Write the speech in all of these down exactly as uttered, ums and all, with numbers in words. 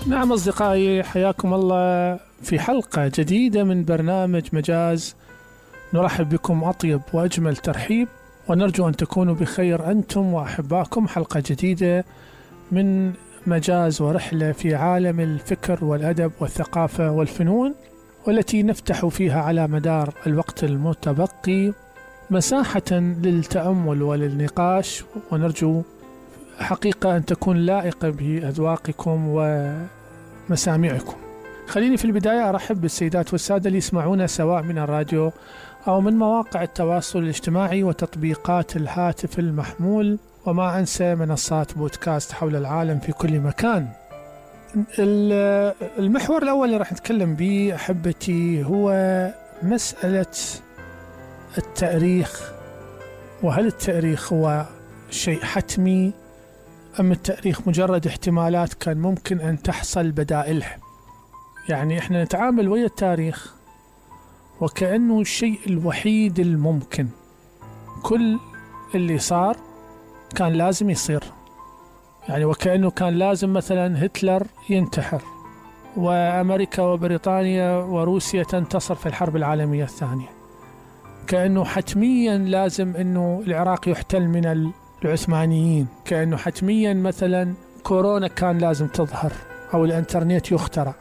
نعم أصدقائي، حياكم الله في حلقة جديدة من برنامج مجاز. نرحب بكم أطيب وأجمل ترحيب، ونرجو أن تكونوا بخير أنتم وأحباكم. حلقة جديدة من مجاز ورحلة في عالم الفكر والأدب والثقافة والفنون، والتي نفتح فيها على مدار الوقت المتبقي مساحة للتأمل وللنقاش، ونرجو حقيقة أن تكون لائقة بأذواقكم ومسامعكم. خليني في البداية أرحب بالسيدات والسادة اللي يسمعونا سواء من الراديو أو من مواقع التواصل الاجتماعي وتطبيقات الهاتف المحمول، وما أنسى منصات بودكاست حول العالم في كل مكان. المحور الأول اللي راح نتكلم به أحبتي هو مسألة التاريخ، وهل التاريخ هو شيء حتمي أم التاريخ مجرد احتمالات كان ممكن أن تحصل بدائلها؟ يعني إحنا نتعامل ويا التاريخ وكأنه الشيء الوحيد الممكن، كل اللي صار كان لازم يصير، يعني وكأنه كان لازم مثلا هتلر ينتحر وأمريكا وبريطانيا وروسيا تنتصر في الحرب العالمية الثانية، كأنه حتميا لازم أنه العراق يحتل من العثمانيين، كأنه حتميا مثلا كورونا كان لازم تظهر أو الانترنت يخترع.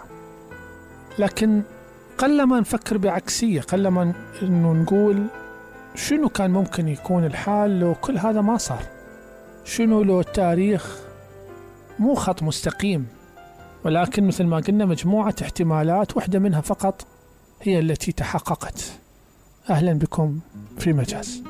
لكن قلما نفكر بعكسية، قلما أنه نقول شنو كان ممكن يكون الحال لو كل هذا ما صار، شنو لو التاريخ مو خط مستقيم ولكن مثل ما قلنا مجموعة احتمالات، واحدة منها فقط هي التي تحققت. أهلا بكم في مجاز.